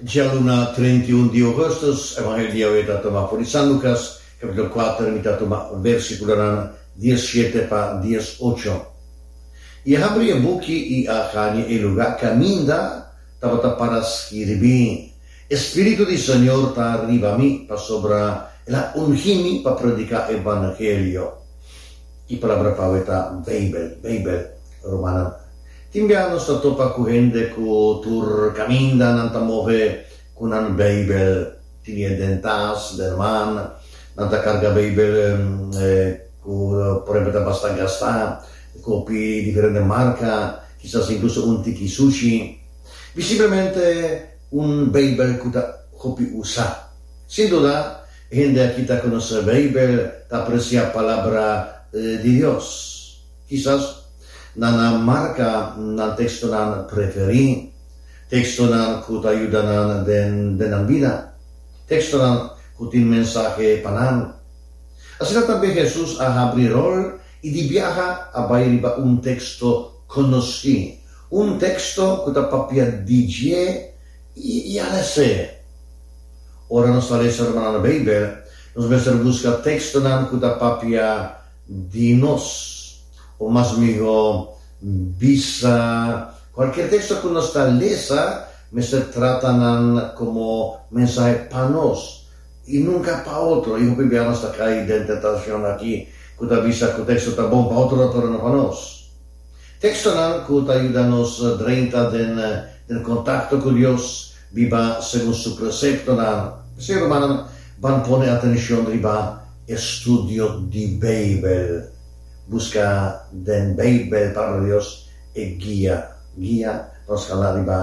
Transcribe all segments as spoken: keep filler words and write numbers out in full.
Djaluna trinta i un di ougùstùs, Evangelio di awe ta tuma for di San Lukas, kapítulo kuater, mi ta tuma versíkulonan dies shete pa dies ocho. I a habri e buki i a haña e lugá kaminda tabata para skirbí, E Spiritu di Señor ta riba mi, pasobra El a ungí mi pa prediká evangelio. E palabra pa awe ta Beibel, Beibel, rumannan. Tin bia nos ta topa ku hende ku tur kaminda nan ta move ku nan Beibel. Tin e den tas, den man, nan ta karga Beibel ku por ehempel ta basta gastá, ku hopi diferente marka, kisas inkluso un tiki sushi. Visiblemente un Beibel ku ta hopi usá. Sin duda, e hende aki ta konosé Beibel, ta apresiá Palabra di Dios. Kisas nan a marka nan tekstonan preferí, tekstonan ku ta yuda nan den den nan bida, tekstonan ku tin mensahe pa nan. Asina tambe Hesus a habri ròl i di biaha a bai riba un teksto konosí, un teksto ku ta papia di dje i a les'é. Ora nos ta lesa rumannan Beibel, nos mester buska tekstonan ku ta papia di nos, o mas mihó bisa, kualkier teksto ku nos ta lesa mester trata nan komo mensahe pa nos i nunka pa otro. I hopi bia nos ta kai den tentashon aki ku ta bisa ku teksto ta bon pa otro pero no pa nos. Tekstonan ku ta yuda nos drenta den den kontakto ku Dios, biba segun su preseptonan. P'esei, rumannan, ban pone atenshon riba estudio di Beibel. Buska den Beibel, Palabra di Dios, e guia, guia pa nos kana riba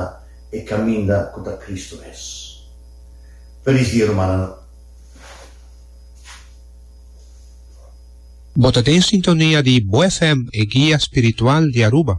e kaminda ku ta Kristu mes. Felis dia, rumannan. Bo ta den sintonia di Bo F M, e guia spiritual di Aruba.